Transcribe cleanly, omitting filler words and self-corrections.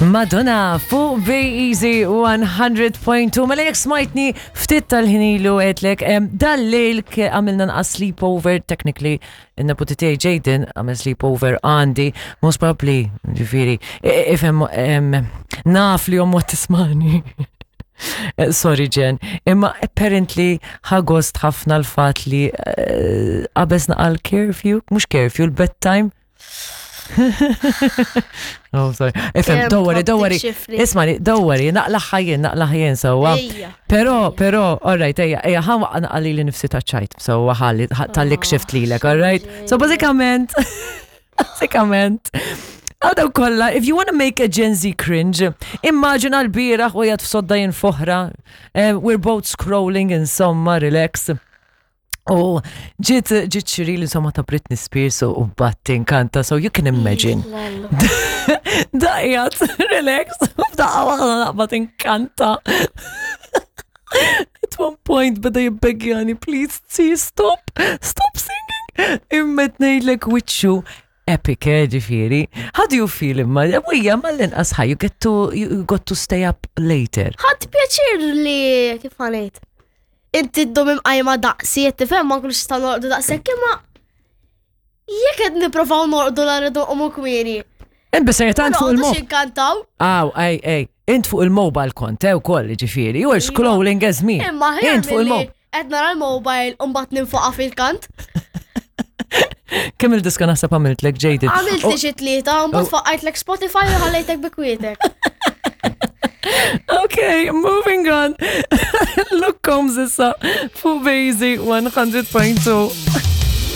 Madonna fuq Bay Easy 100.2 Mela jekk smajtni ftit tal-ħin ilu għedlek dal-lejl għamilna nqas sleepover technically in-neputi tiegħi Jaden għamel sleepover għandi most probably ġifieri ifhem naf li ommu tismani. Eh, sorry Jen, imma apparently ħagost ħafna l-fat li eh, qabesna għal curfew, mhux curfew, l-bedtime oh, sorry. Ifhem, don't worry, don't worry. Ismani, don't worry, naqlaħħa jien, naqlaħħa jien sewwa. Però, però, all right, ejja, ejja, ħa naqali li nifsi ta' ċajt, sewwa ħalli tal-li oh, xift lilek, all right? So bażikament, bażikament, Għadaw kolla, if you want to make a Gen Z cringe, immaġina l-biraħ u jgħat f'sodda jien foħra, eh, we're both scrolling insomma, relax. U ġiet ġiet xiri li insomma ta' Britney Spears u bat inkanta, so you can imagine. Daqjat, relax, f'daqqa waħda naqbad inkanta. At one point beda jibbegjani, please, see, stop, stop singing. Imma ngħidlek wiċċu epic, eh, ġifieri. How do you feel imma? Wija, mal-inqas ħaj, you get to, you got to stay up later. Ħadd pjaċir li kif ħanejt. Inti ddum imqajma daqsi, qed tifhem ma nkunux nistgħu norqdu daqshekk imma jekk qed nipprovaw norqdu la rridu nqumu kmieni. Int biserjetà int fuq il-mobile. Inkantaw. Aw, ej, ej, int fuq il-mobile kont, eh, ukoll, ġifieri. You were scrolling as me. Imma int fuq il-mobile. Qed nara l-mobile u mbagħad ninfoqa fil-kant. Kemm il-diska naħseb għamiltlek Jaden? Għamilt li xi tlieta, mbagħad faqqajtlek Spotify u ħallejtek bi kwietek. Okay, moving on. Look Combs issa fuq Bazy 100.2.